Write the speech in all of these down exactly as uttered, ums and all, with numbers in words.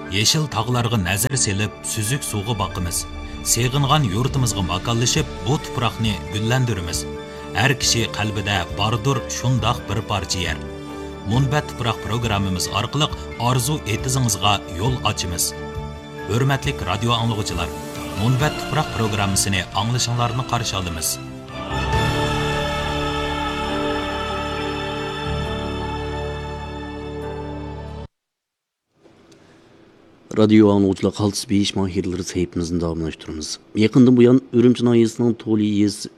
يېشىل تاغلارغا نەزەر سېلىپ، سۈزۈك سۇغا باقىمىز. سېغىنغان يۇرتىمىزغا ماكانلىشىپ، بۇ تۇپراقنى گۈللەندۈرىمىز. ھەر كىشى قەلبىدە باردۇر شۇنداق بىر پارچە يەر. مۇنبەت تۇپراق پروگراممىمىز ئارقىلىق ئارزۇ ئېتىزىڭىزغا يول ئاچىمىز. ھۆرمەتلىك رادىيو ئاڭلىغۇچىلار، مۇنبەت تۇپراق پروگراممىسىنى ئاڭلىشىڭلارنى قارشى ئالىمىز. رادىيو ئاڭلىغۇچىلار، قالتىس بېيىش ماھىرلىرى سەھىپىمىزنى داۋاملاشتۇرىمىز. يېقىندىن بۇيان، ئۈرۈمچى ناھىيەسىنىڭ تولى يېزىسى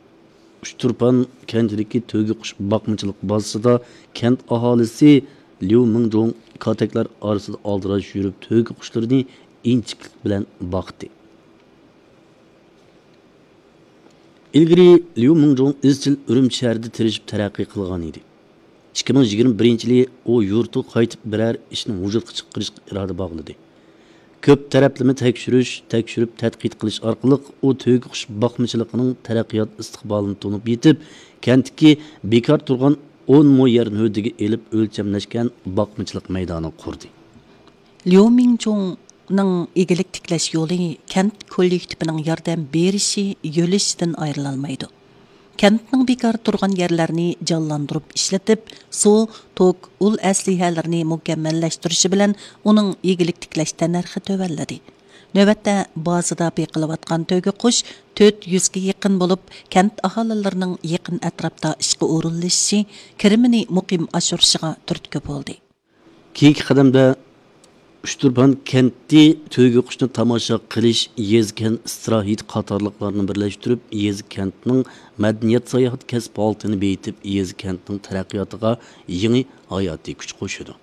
ئۇچتۇرپان كەنتىدىكى تۆگە قۇش باقمىچىلىق بازىسىدا كەنت ئاھالىسى ليۇ مىڭجۇڭ كاتەكلەر ئارىسىدا ئالدىراش يۈرۈپ، تۆگە قۇشلىرىنى ئىنچىكىلىك بىلەن باقتى. ئىلگىرى ليۇ مىڭجۇڭ ئىزچىل ئۈرۈمچى شەھىرىدە تىرىشىپ تەرەققىي قىلغان ئىدى. ئىككى مىڭ يىگىرمە بىرىنچى يىلى ئۇ يۇرتىغا قايتىپ، بىرەر ئىشنى ۋۇجۇدقا چىقىرىشقا ئىرادە باغلىدى. كۆپ تەرەپلىمە تەكشۈرۈش، تەكشۈرۈپ تەتقىق قىلىش ئارقىلىق ئۇ تۆگە قۇش باقمىچىلىقىنىڭ تەرەققىيات ئىستىقبالىنى تونۇپ يېتىپ، كەنتتىكى بىكار تۇرغان ئون مو يەرنى ھۆددىگە ئېلىپ ئۆلچەملەشكەن باقمىچىلىق مەيدانى قۇردى. ليۇ مىڭجۇڭنىڭ ئىگىلىك تىكلەش يولى كەنت كوللېكتىپىنىڭ ياردەم بېرىشى، يۆلىشىدىن ئايرىلالمايدۇ. كەنتنىڭ بىكار تۇرغان يەرلەرنى جانلاندۇرۇپ ئىشلىتىپ، سۇ، توك، ئۇل ئەسلىھەلىرىنى مۇكەممەللەشتۈرۈشى بىلەن ئۇنىڭ ئىگىلىك تىكلەش تەننەرخى تۆۋەنلىدى. نۆۋەتتە بازىدا بېقىلىۋاتقان تۆگە قۇش تۆت يۈزگە يېقىن بولۇپ، كەنت ئاھالىلىرىنىڭ يېقىن ئەتراپتا ئىشقا ئورۇنلىشىشى، كىرىمىنى مۇقىم ئاشۇرۇشىغا تۈرتكە بولدى. كېيىنكى قەدەمدە ئۇچتۇرپان كەنتى تۆگە قۇشنى تاماشا قىلىش، يېزا كەنت ئىستىراھىتى قاتارلىقلارنى بىرلەشتۈرۈپ، يېزا كەنتنىڭ مەدەنىيەت ساياھەت كەسىپ ھالىتىنى بېيىتىپ، يېزا كەنتنىڭ تەرەققىياتىغا يېڭى ھاياتىي كۈچ قوشىدۇ.